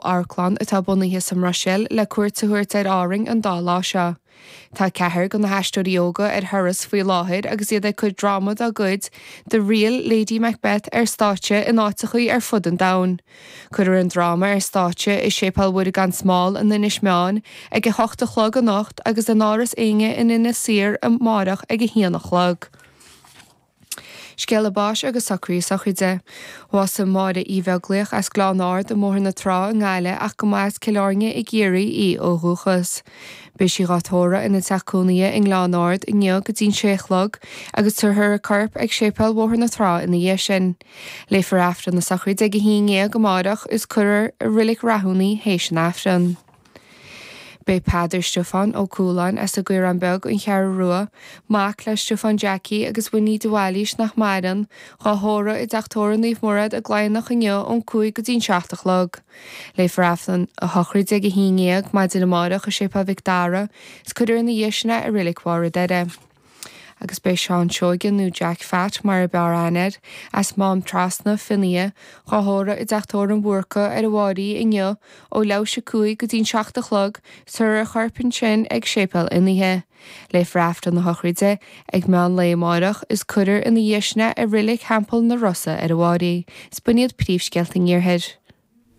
Amharclann atá bunaithe sa mBruiséil le cuairt a thabhairt ar Árainn an dá lá seo. Tá ceathrar de na haisteoirí óga ar thuras faoi láthair agus iad ag cur dráma dá gcuid, The Real Lady Macbeth, ar stáitse in áiteachaí ar fud an domhain. Cuirfear an dráma ar stáitse i Séipéal Mhuire gan Smál in Inis Meáin ag a hocht a chlog anocht agus in Áras Éinne in Inis Oírr amárach ag a haon a chlog. Scéala báis agus socruithe sochraide. Bhásaigh Máire Uí Bheaglaoich as Gleann Ard i mBóthar na Trá i nGaillimh ach go mba as Cill Airne i gCiarraí í ó dhúchas. Beidh sí dhá tórramh ina teach cónaithe i nGleann Ard inniu go dtí'n sé a chlog agus tabharfar a corp ag Séipéal Bhóthar na Trá ina dhiaidh sin. Léifear Aifreann na sochraide ag 11 amáireach is cuirfear i Reilig Rathún í théis an Aifreann. Beidh Peadar Stiofán Ó Cualáin as an gCaorán Beag, An Cheathrú Rua, mac le Stiofán Jackie agus Winnie de Bhailís nach maireann, dhá thórramh i dTeach Tórraimh Naomh Murad i gCladhnach inniu ón 5 go dtí'n 7 a chlog. Léifear Aifreann a shochraide ag 11 maidin amárach i Séipéal Mhic Dara is cuirfear ina dhiaidh sin é i Reilig Bharr an Doire. Agus beidh Seán Seoige, nó Jack Phat mar a b'fhearr aithne air, as Mám Trasna, Fionnaithe, dhá thórramh i dTeach Tórraimh an Bhúrca ar an bhFáirí inniu ó leathuair théis 5 go dtí'n 7 a chlog, tabharfar a chorp ansin ag Séipéal Fhionnaithe. Léifear Aifreann na sochraide ag meán lae amáireach is cuirfear ina dhiaidh sin é i Reilig Theampall na Rosa ar an bhFáirí. Is b'in iad príomhscéalta an Iarthair.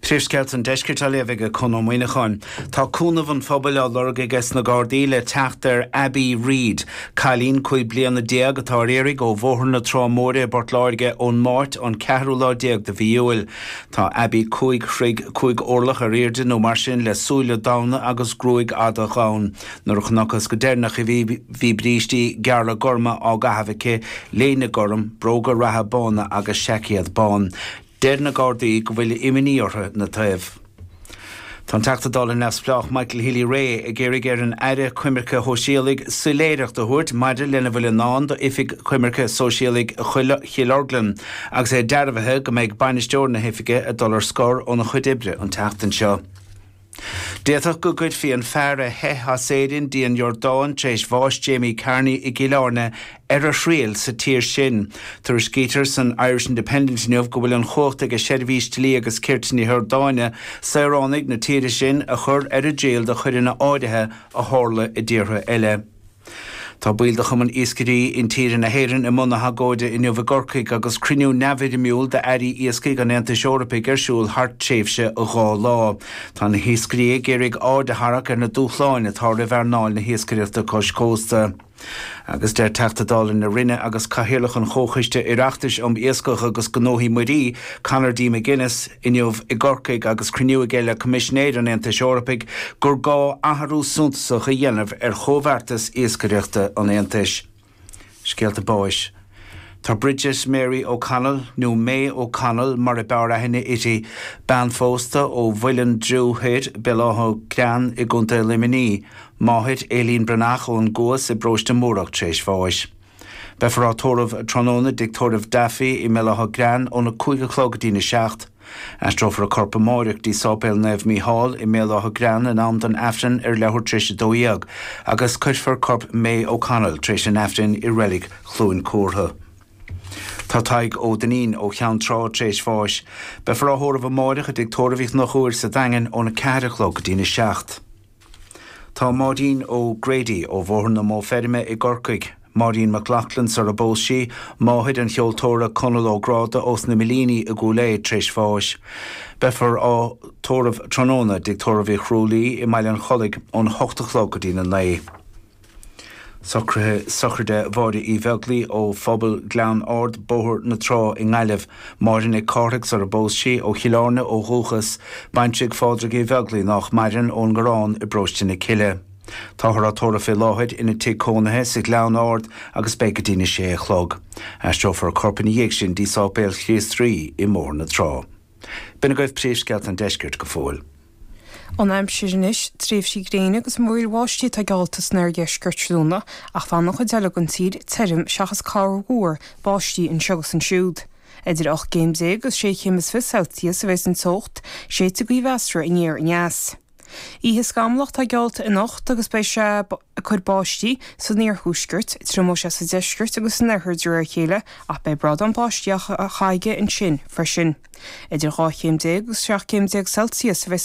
Príomhscéalta an Deiscirt á léamh ag Conn Ó Muíneacháin. Tá cúnamh an phobail á lorg aige sna Gardaí le teacht ar Abbie Reid, cailín 15 bliana atá ar iarraidh ó Bhóthar na Trá Móire i bPort Láirge ón Máirt an ceathrú lá déag de mhí Iúil. Tá Abbie 5 throigh 5 orlach ar airde nó mar sin le súile donn agus gruaig fhada dhonn. Nuair a chonacthas go deireanach í bhí brístí gearra gorma á gcaitheamh aici, léine gorm, bróga reatha bána agus seaicéad bán. Deir na Gardaí go bhfuil imní orthu ina taobh. Tá an Teachta Dála neamhspleách Michael Healy-Rae ag iarraidh ar an Aire Coimirce Shóisialaigh soiléireacht a thabhairt maidir lena bhfuil i ndán d'Oifig Coimirce Sóisialaigh Chill Orglan agus é dearbhaithe go mbeidh bainisteoir na hoifige ag dul ar scor óna chuid oibre an tseachtain seo. D'fhéadfadh go gcuirfí an fear a theith as Éirinn dtí an Iordáin tar éis bháis Jamie Carney i gCill Airne ar a thriail sa tír sin. Tuairiscítear san Irish Independent inniu go bhfuil an chumhacht ag Seirbhís Dlí agus Cirt na hIordáine saoránaigh na tíre sin a chur ar a dtriail do choireanna áirithe a tharla i dtíortha eile. Tá baill de Chumann Iascairí Intíre na hÉireann i mbun na hagóide inniu i gCorcaigh agus cruinniú neamhfhoirmiúil d'airí iascaigh an Aontais Eorpaigh ar siúl thar tréimhse 2 lá. Tá na hiascairí ag iarraidh aird a tharrac ar na dúshláin atá roimh earnáil na hiascaireachta cois cósta. Agus deir Teachta Dála na Rinne agus Cathaoirleach an Chomhchoiste Oireachtais um Iascach agus Gnóthaí Muirí, Conor D. McGuinness, inniu i gCorcaigh agus cruinniú aige le Coimisinéir an Aontais Eorpaigh gur gá athrú suntasach a dhéanamh ar chomhbheartas iascaireachta an Aontais. Scéalta báis. Tá Bridget Mary O'Connell, nó May O'Connell mar a b'fhearr aithne uirthi, bean phósta ó Mhuileann Driú Thoir, Béal Átha Gréan i gContae Luimnigh, máthair Aileen Breathnach ón gCuas i bParóiste Múrach tar éis bháis. Beifear á tórramh tráthnóna i dTigh Tórraimh Duffy i mBéal Átha Gréan óna 5 a chlog go dtína 7. Aistreofar a corp amáireach dtí Sáipéal Naomh Mícheál i mBéal Átha Gréan in am don Aifreann ar leathuair tar éis 12 agus cuirfear corp May O'Connell tar éis an Aifrinn i Reilig Chluain Cúrtha. Tá Tadhg Ó Duinnín ó Cheann Trá tar éis bháis. Beifear á thórramh amáireach i dTigh Tórraimh Uí Chonchúir sa Daingean óna 4 a chlog go dtína 7. Tá Máirín O'Grady ó Bhóthar na Mó Feirme i gCorcaigh, Máirín McLaughlin sar a bpós sí, máthair an cheoltóra Conall Ó Gráda ós na Millíní i gCúil Aodha tar éis bháis. Beifear á tórramh tráthnóna i dTigh Tórraimh Uí Chrualaoi i mBaile an Chollaigh ón 8 a chlog go dtína 9. Socruithe sochraide Mháire Uí Bheaglaoi ó Phobal Ghleann Ard, Bóthar na Trá i nGaillimh. Máire Nic Cárthaigh sar a bpós sí, ó Chill Airne ó dhúchas, baintreach Phádraig Uí Bheaglaoi nách maireann ón nGarrán i bParóiste na Cille. Táthar á tórramh fé láthair ina tigh cónaithe sa Ghleann Ard agus beidh go dtína sé a chlog. Aistreofar a corp ina dhiaidh sin dtí Sáipéal Chríost Rí i mBóthar na Trá. B'in agaibh príomhscéalta an deiscirt go fóill. An aimsir anois, tréimhsí gréine agus múraíl bháistí atá geallta san oirdheisceart tráthnóna ach fanfaidh an chuid eile den tír tirim seachas corrmhúr báistí anseo agus ansiúd. Idir 18 gcéim agus 26 chéim Celsius a bheidh an teocht, séidfidh gaoth mheasartha aniar aneas. Oíche scamallach atá geallta anocht agus beidh sé ag cur báistí san iarthuaisceart, triomóidh sé sa deisceart agus san oirthear de réir a chéile ach beidh brádán báistí á chaitheamh aige ansin freisin. Idir 12 chéim agus 17 céim Celsius a bheidh san.